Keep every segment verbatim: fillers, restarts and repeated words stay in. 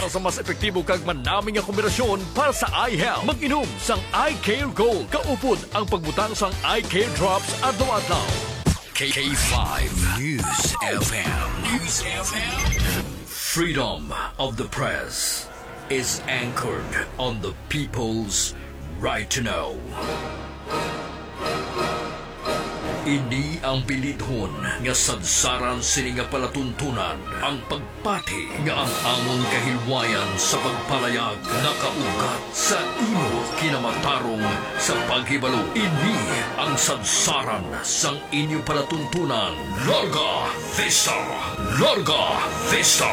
Sa mas epektibo kag manami nga kombinasyon para sa eye health, mag-inom sang Eye Care Gold. Kaupod ang pagbutang sang Eye Care Drops adlaw-adlaw. K five News F M. News F M. Freedom of the press is anchored on the people's right to know. Ini ang bilidhon nga sadsaran sini nga palatuntunan, ang pagpati nga ang amon kahilwayan sa pagpalayag nakaugat sa imo kinamatarong sa paghibalo. Ini ang sadsaran sang inyo palatuntunan. Larga Vista! Larga Vista!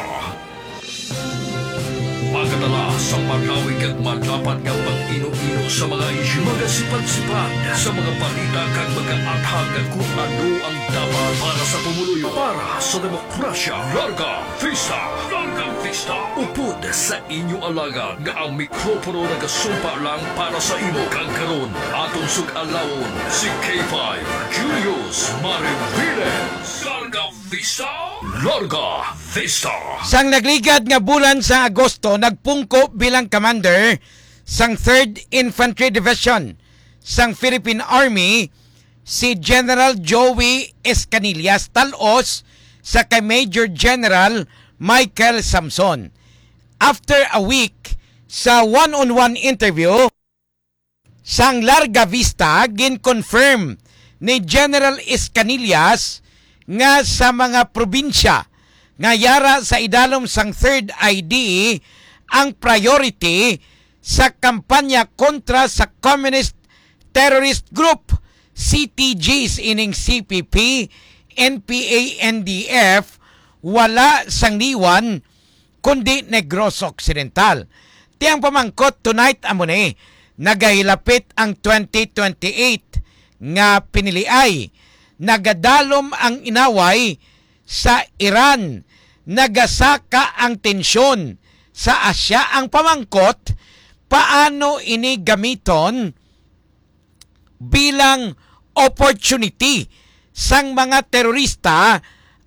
Magadala sa malawig kag madapat nga pag-ino-ino sa mga isyu, magasipad-sipad sa mga balita kag magaathag kon ano ang dapat para sa pumuluyo, para sa demokrasya. Larga Vista! Larga Vista! Upod sa inyo alagad nga ang mikropono nagasumpa lang para sa imo, kag karon aton sug-alawon si K five Julius Mariviles. Larga Vista! Larga Vista! Sang nagligad nga bulan sa Agosto, nagpungko bilang commander sang Third Infantry Division sang Philippine Army si General Joey Escanillas, tal-os sa kay Major General Michael Samson. After a week sa one-on-one interview, sang Larga Vista, gin-confirm ni General Escanillas nga sa mga probinsya nga yara sa idalom sang Third I D, ang priority sa kampanya kontra sa Communist Terrorist Group, C T Gs, ining C P P, N P A, N D F, wala sang liwan kundi Negros Occidental. Ti ang pamangkot tonight amo ni, nagahilapit ang twenty twenty-eight nga piniliay, nagadalom ang inaway sa Iran, nagasaka ang tensyon sa Asya. Ang pamangkot, paano ini gamiton bilang opportunity sang mga terorista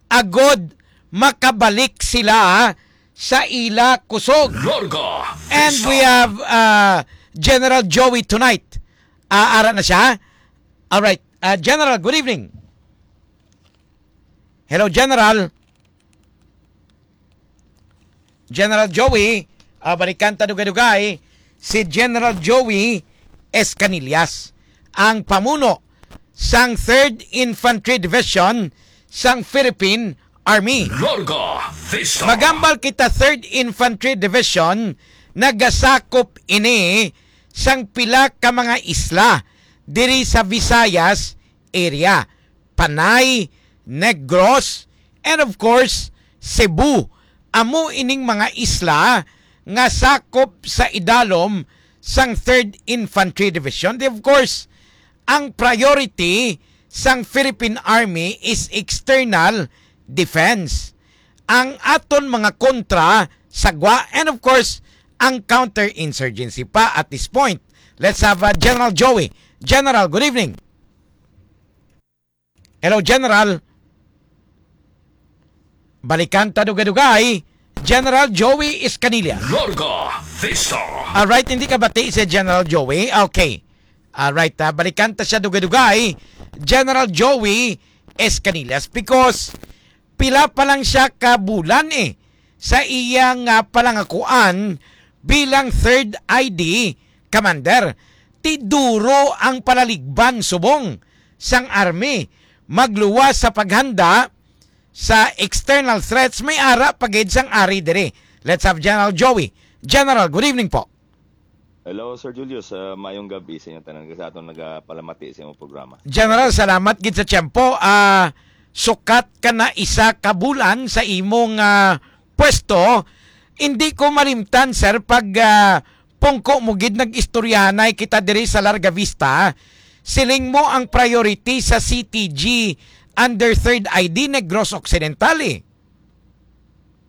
agod makabalik sila sa ila kusog. Larga And Vista. We have uh, General Joey tonight. Uh, ara na siya. All right. Uh, General, good evening. Hello, General. General Joey, ah, balikan ta dugay-dugay, si General Joey Escanillas, ang pamuno sang Third Infantry Division sang Philippine Army. Larga Vista. Magambal kita, Third Infantry Division, nagasakop ini sang pila ka mga isla diri sa Visayas area. Panay, Negros, and of course, Cebu. Amo ining mga isla nga sakop sa idalom sang Third Infantry Division. Di, of course, ang priority sang Philippine Army is external defense. Ang aton mga kontra, sagwa, and of course, ang counterinsurgency pa at this point. Let's have uh, General Joey. General, good evening. Hello, General. Balikan ta dugay-dugay, General Joey Escanilla. Larga Vista. Alright, hindi ka bati si General Joey? Okay. Alright, ah, balikan ta siya dugay-dugay, General Joey Escanillas, because pila pa lang siya ka bulan eh sa iyang ah, palangakuan bilang Third I D Commander. Ti duro ang palaligban subong sang Army, magluwas sa paghanda sa external threats, may ara pa gid sang ari diri. Let's have General Joey. General, good evening po. Hello, Sir Julius. Ah, maayong gabi sa inyo tanan, sa aton nagapalamati sa imong programa. General, salamat gid sa tiyempo. Ah, sukat ka na isa ka bulan sa imong ah, pwesto. Hindi ko malimtan, sir, pag ah, pungko mo gid, nag-istoryahanay kita diri sa Larga Vista. Siling mo ang priority sa C T G under Third I D Negros Occidental eh.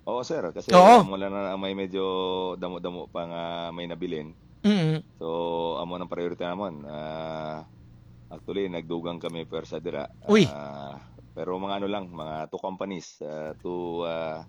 Oo, sir. Kasi Oo. Amo lang na may medyo damo-damo pa nga may nabilin. Mm. So, amo nang priority namon. Ah, actually, nagdugang kami pwersa dira. Uy. Ah, pero mga ano lang, mga two companies, ah, two, ah,